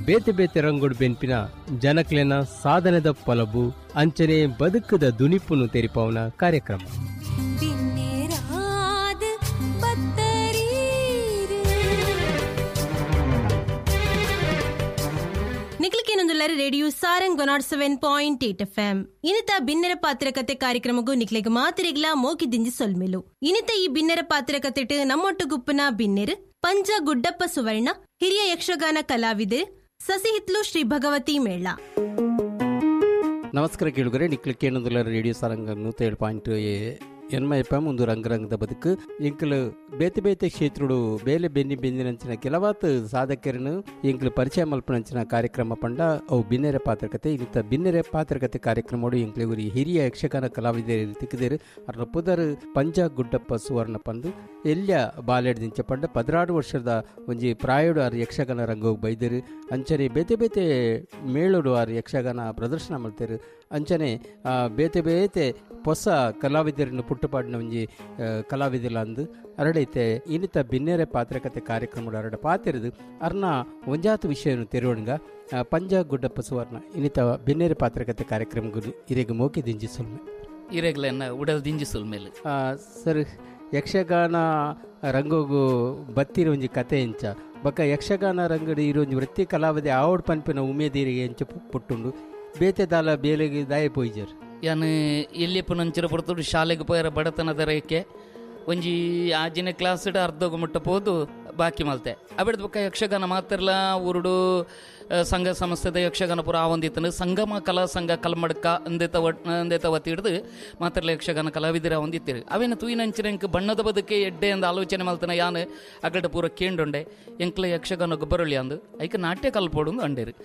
ಬೇತೆ ಬೇತೆ ರಂಗೋಡು ಬೆನ್ಪಿನ ಜನಕ್ಲೆನ ಸಾಧನೆದ ಪೊಲಬು ಅಂಚನೆ ಬದುಕುದ ದುನಿಪುನು ತೆರಿಪಾವುನ ಕಾರ್ಯಕ್ರಮ. ರೇಡಿಯೋ ಸಾರಂಗ್ 107.8 ಎಫ್ಎಂ ಇನಿತ ಬಿನ್ನೆರ ಪಾತ್ರಕತೆ ಕಾರ್ಯಕ್ರಮಗೂ ನಿಕ್ಲೆಗ್ ಮಾತಿರಿಗ್ಲಾ ಮೋಕಿ ದಿಂಜಿ ಸೊಲ್ಮೆಲು. ಇನಿತ ಈ ಬಿನ್ನೆರ ಪಾತ್ರಕತೆಟ್ ನಮ್ಮೊಟ್ಟು ಗುಪ್ಪನ ಬಿನ್ನೆರ್ ಪಂಜ ಗುಡ್ಡಪ್ಪ ಸುವರ್ಣ, ಹಿರಿಯ ಯಕ್ಷಗಾನ ಕಲಾವಿದರು, ಸಸಿಹಿತ್ಲು ಶ್ರೀ ಭಗವತಿ ಮೇಳ. ನಮಸ್ಕಾರ ಕೇಳುಗರೆ, ನಿಕ್ಲೆ ಕೇಳೋದಿಲ್ಲ ರೇಡಿಯೋ ಸಾರಂಗ್ 107.8 ಎನ್ಮ ಎಫ್ ಎಂ ಒಂದು ರಂಗರಂಗದ ಬದುಕು. ಎಂಕಲು ಬೇತೆ ಬೇತೆ ಕ್ಷೇತ್ರಡು ಬೇಲೆ ಬೆನ್ನಿ ಬೆಂದಿನಂಚಿನ ಕೆಲವಾತ್ ಸಾಧಕರನ್ನು ಎಂಕಲು ಪರಿಚಯ ಮಲ್ಪನಂಚಿನ ಕಾರ್ಯಕ್ರಮ ಪಂಡ ಅವು ಬಿನ್ನೆರೆ ಪಾತ್ರಕತೆ. ಇನ್ನಿತ ಬಿನ್ನೆರೆ ಪಾತ್ರಕತೆ ಕಾರ್ಯಕ್ರಮಡು ಎಂಕಲು ಗುರಿ ಹಿರಿಯ ಯಕ್ಷಗಾನ ಕಲಾವಿದರು ತಿಕ್ಕಿದರು. ಅರ್ನ ಪುದರ್ ಪಂಜ ಗುಡ್ಡಪ್ಪ ಸುವರ್ಣ ಪಂದು ಎಲ್ಯ ಬಾಲೆಡ್ದಿಂಚ ಪಂಡ 16 ವರ್ಷದ ಒಂಜಿ ಪ್ರಾಯೋಡು ಆರು ಯಕ್ಷಗಾನ ರಂಗೋಗಿ ಬೈದರು. ಅಂಚನೆ ಬೇತೆ ಬೇತೆ ಮೇಳೋಡು ಆರು ಯಕ್ಷಗಾನ ಪ್ರದರ್ಶನ ಮಲ್ತೇರು. ಅಂಚನೆ ಬೇತೆ ಬೇತೆ ಹೊಸ ಕಲಾವಿದರನ್ನು ಪುಟ್ಟುಪಾಡಿನ ಒಂಜಿ ಕಲಾವಿದರ ಅಂದು ಅರಡೈತೆ. ಇನ್ನಿತ ಬಿನ್ನೆರೆ ಪಾತ್ರಕತೆ ಕಾರ್ಯಕ್ರಮ ಅರಡ ಪಾತಿರದು ಅರ್ನ ಒಂಜಾತು ವಿಷಯವನ್ನು ತೆರವಣಗ ಪಂಜ ಗುಡ್ಡಪ್ಪ ಸುವರ್ಣ ಇನ್ನಿತ ಬಿನ್ನೆರೆ ಪಾತ್ರಕತೆ ಕಾರ್ಯಕ್ರಮ ಇರೆಗ್ ಮೋಕಿ ದಿಂಜಿ ಸುಲ್ಮೆ ಇರೆಗ್ಲೆನ್ನ ಉಡಲ್ ದಿಂಜಿ ಸುಲ್ಮೇಲೆ. ಸರ್, ಯಕ್ಷಗಾನ ರಂಗೋಗು ಬತ್ತಿರ ಒಂಜಿ ಕತೆ ಎಂಚ ಬೊಕ್ಕ ಯಕ್ಷಗಾನ ರಂಗಡಿ ಇರೋ ಒಂಜಿ ವೃತ್ತಿ ಕಲಾವಿದೆ ಆವಡ್ ಪನ್ಪಿನ ಉಮೇದಿರಿಗೆ ಎಂಚ ಪುಟ್ಟುಂಡು ಬೇತೆ ದಾಲ ಬೇಲೆಗೆ ದಾಯ ಪೋಯ್ಜರ್. ಯಾನ್ ಎಲ್ಲಿಯಪ್ಪ ಪೊರ್ತುಡು ಶಾಲೆಗೆ ಪೋಯರ ಬಡತನದ ರೇಖೆ ಒಂಜಿ ಆಜಿನ ಕ್ಲಾಸ್ಡ್ ಅರ್ಧೋಗು ಮುಟ್ಟ ಪೋದು ಬಾಕಿ ಮಲ್ತೆ. ಅಬಿಡ್ದ ಬೊಕ್ಕ ಯಕ್ಷಗಾನ ಮಾತ್ರಲ ಊರುಡು ಸಂಘ ಸಂಸ್ಥೆದ ಯಕ್ಷಗಾನ ಪೂರ ಆವೊಂದಿತ್ತನು. ಸಂಗಮ ಕಲಾ ಸಂಘ ಕಲ್ಮಡ್ಕ ಅಂದೇತ ಅಂದೇತ ವತಿ ಹಿಡ್ದು ಮಾತ್ರಲ ಯಕ್ಷಗಾನ ಕಲಾವಿದರ ಒಂದಿತ್ತಿರು. ಅವೇನು ತೂಯಿನಂಚಿನ ಎಂಕ್ ಬಣ್ಣದ ಬದುಕೆ ಎಡ್ಡೆ ಅಂದ ಆಲೋಚನೆ ಮಲ್ತನ ಯಾನ್ ಅಗಡ ಪೂರ ಕೇಂಡುಂಡೆ ಎಂಕ್ಲ ಯಕ್ಷಗಾನ ಗೊಬ್ಬರೊಳ್ಳಿ ಅಂದು ಐಕ ನಾಟ್ಯ ಕಲ್ಪೋಡು ಅಂಡೇರು.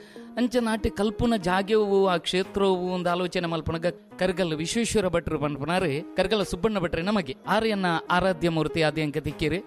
ಅಂಚ ನಾಟ್ಯ ಕಲ್ಪುನ ಜಾಗ್ಯವು ಆ ಕ್ಷೇತ್ರವು ಒಂದು ಆಲೋಚನೆ ಮಲ್ಪನಗ ಕರ್ಗಲ್ ವಿಶ್ವೇಶ್ವರ ಭಟ್ರು ಪನ್ಪನಾರು ಕರ್ಗಲ ಸುಬ್ಬಣ್ಣ ಭಟ್ರೆ ನಮಗೆ ಆರ್ಯನ್ನ ಆರಾಧ್ಯ ಮೂರ್ತಿ ಆದಿ ಅಂಕ ತಿಕ್ಕಿರಿ.